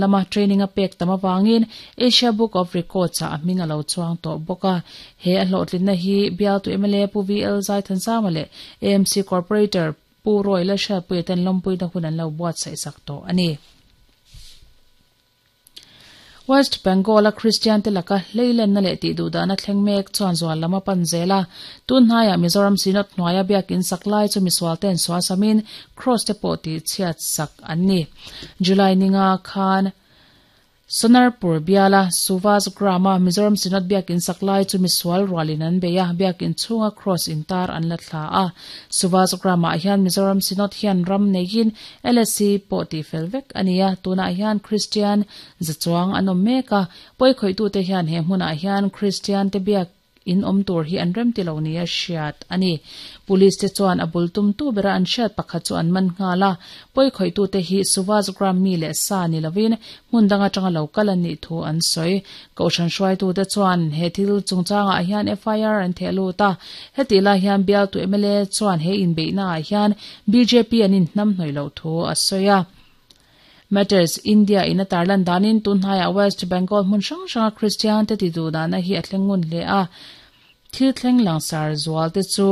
Lama training a pek tam avangin Asia Book of Records ah a hming a lo chuang tawh bawk a. He a hlawhtlinna hi bialtu mla Pu VL Zaithansanga leh AMC Corporator Pu Roy Lalhriatpuia ten lawmpuina hun an lo buatsaih sak tawh a ni. West Bengal-a Kristian te laka hleilenna leh tihduhdahna thleng mek chuan zual lam a pan zel a. Tun hnaiah Mizoram Synod hnuaia biakin sak lai chu misual ten sualsamin Cross te pawh tihchhiat sak an ni. July ninga khan Sonarpur biala Suvas Gram-a Mizoram Synod biakin sak lai chu misual rualin an bei a, biakin chhunga Cross intar an la thla a. Suvas Gram-ah hian Mizoram Synod hian ram neiin LSC pawh tihfel vek a ni a, tunah hian Kristian za chuang an awm mek a, pawikhawih-tute hian he hmunah hian Kristian te biak in awm tur hi an rem ti lo nia hriat a ni. Police te chuan a bul tumtu bera an hriat pakhat chu an man nghal a, pawikhawih-tute hi Suvas Gram mi leh sa ni lovin hmun dang atanga lo kal an nih thu an sawi. Kohhran hruaitute chuan he thil chungchangah hian FIR an theh lut a, hetih lai hian bialtu mla chuan he inbeihnaah hian bjp an inhnamhnawih loh thu a sawi a. Matters India in a tarlan danin tun hnaiah West Bengal hmun hrang hranga Kristian te tiduhdahna hi a thleng ngun hle a, thil thleng langsar zual te chu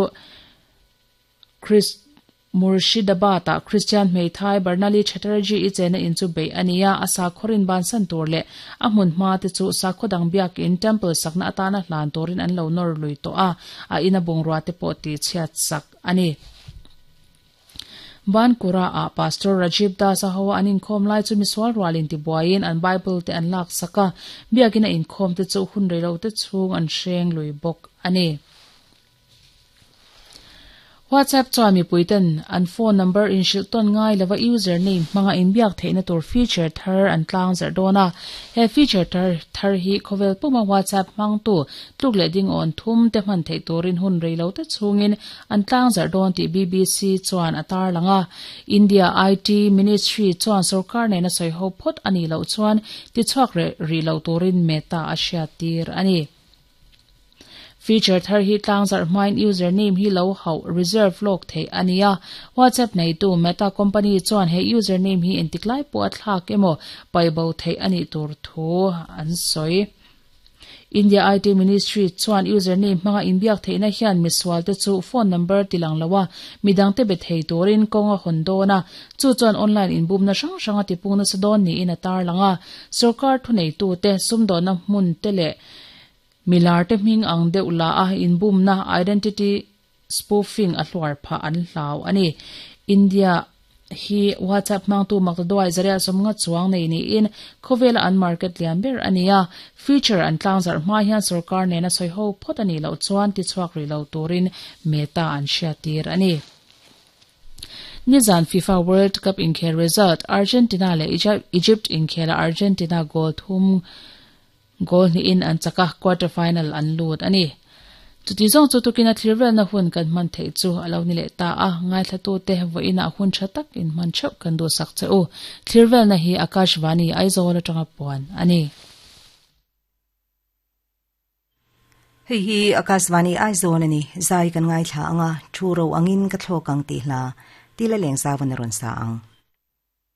Murshidabad ah Kristian hmeithai Barnali Chatterjee i chena in chu beih a ni a, a sakhawrin bansan tur leh a hmun hma te chu sakhaw dang biakin temple sakna atana hlan turin an lo nawr lui tawh a, a ina bungrua te pawh tihchhiat sak a ni. Bankura ah Pastor Rajiv Das a ho a an inkhawm lai chu misual rual in tibuaiin an Bible te an lak sak a, biakin a inkhawm te chu hun reilo te chhung an hreng lui bawk a ni. WhatsApp chuan mipui ten an phone number inhrilh tawn ngai lova user name hmanga inbiak theihna tur feature thar an tlang zarh dawn a. He feature thar thar hi khawvel puma WhatsApp hmangtu tluk leh ding awn thum te hman theih turin hun reilo te chhungin An tlangzarh dawn tih BBC chuan a tarlang a. India IT Ministry chuan sorkar nena sawiho phawt a nih loh chuan tichhuak reh rih loh turin Meta a hriattir a ni. Feature thar hi tlangzarh hmain user name hi lo hauh, reserve, lawk theih a ni a. WhatsApp neitu Meta company chuan he user name hi engtik lai pawh a thlak emaw paihbo theih a nih tur thu an sawi. India IT Ministry chuan username hmanga inbiak theihna hian misualte chu phone number tilang lo a, midangte be thei turin kawng a hawn dawn a, chu chuan online inbumna hrang hrang a tipung nasa dawn niin a tarlang a. Sorkar thuneitute, sumdawnna hmunte leh milarte hming ang deuh la a inbumna, identity spoofing, a hluar phah an hlau a ni. India hi WhatsApp hmangtu maktaduai zaria sawmnga chuang nei niin khawvela an market lian ber a ni a, feature an tlangzarh hma hian sorkar nena sawiho phawt a nih loh chuan tichhuak rih lo turin Meta an hriattir a ni. Nizan FIFA World Cup inkhel result, Argentina leh Egypt inkhela Argentina goal thum Goal hnihin an chak a, quarter final an lut a ni. Chuti zawng chu tukin a thlir velna hun kan hman theih chu a lo ni leh ta a, ngaithlatute vawiinah hun tha tak in hman theuh kan duhsak che u. Thlir velna hi Akashvani Aizawl atanga puan a ni. Hei hi Akashvani Aizawl a ni, zai kan ngaithla ang a, thu ro angin ka thlawk ang tih hla, Tila Lengzauvan a rawn sa ang.